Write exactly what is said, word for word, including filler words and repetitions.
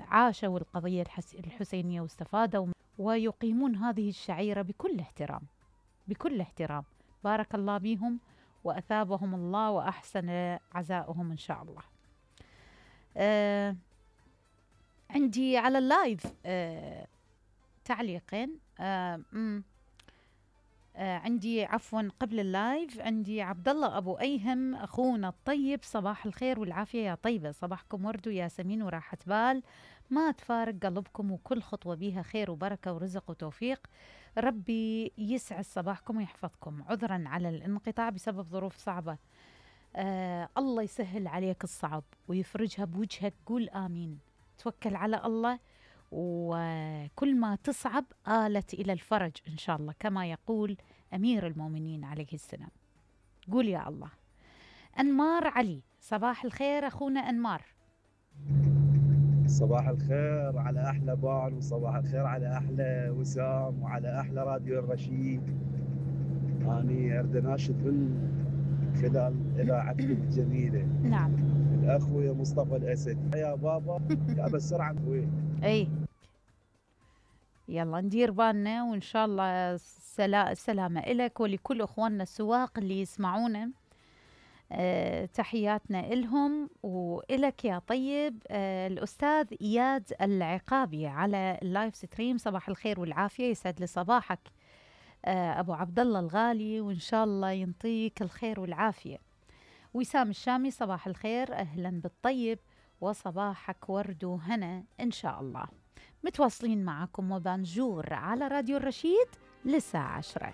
عاشوا القضية الحسينية واستفادوا ويقيمون هذه الشعيرة بكل احترام بكل احترام. بارك الله بهم وأثابهم الله وأحسن عزاؤهم إن شاء الله. آه عندي على اللايف آه تعليقين. آه آه عندي عفوا قبل اللايف عندي عبد الله أبو أيهم أخونا الطيب، صباح الخير والعافية يا طيبة، صباحكم ورد وياسمين وراحة بال، ما تفارق قلبكم وكل خطوة بيها خير وبركة ورزق وتوفيق، ربي يسعد صباحكم ويحفظكم، عذرا على الانقطاع بسبب ظروف صعبة. آه الله يسهل عليك الصعب ويفرجها بوجهك، قول آمين، توكل على الله وكل ما تصعب آلت إلى الفرج إن شاء الله كما يقول أمير المؤمنين عليه السلام. قول يا الله. أنمار علي، صباح الخير أخونا أنمار. صباح الخير على أحلى بال، وصباح الخير على أحلى وسام، وعلى أحلى راديو الرشيد. أني أريد أناشد من خلال إذاعتكم الجميلة نعم الأخوي مصطفى الأسد، يا بابا يا بسرعة أخوي. أي يلا ندير بالنا وإن شاء الله سلا سلامة إلك ولكل أخواننا السواق اللي يسمعونا. أه تحياتنا إلهم وإلك يا طيب. أه الأستاذ إياد العقابي على اللايف ستريم، صباح الخير والعافية، يسعد لي صباحك أه أبو عبد الله الغالي وإن شاء الله ينطيك الخير والعافية. وسام الشامي، صباح الخير، أهلا بالطيب وصباحك ورد وهنا إن شاء الله. متواصلين معكم وبانجور على راديو الرشيد للساعة عشرة.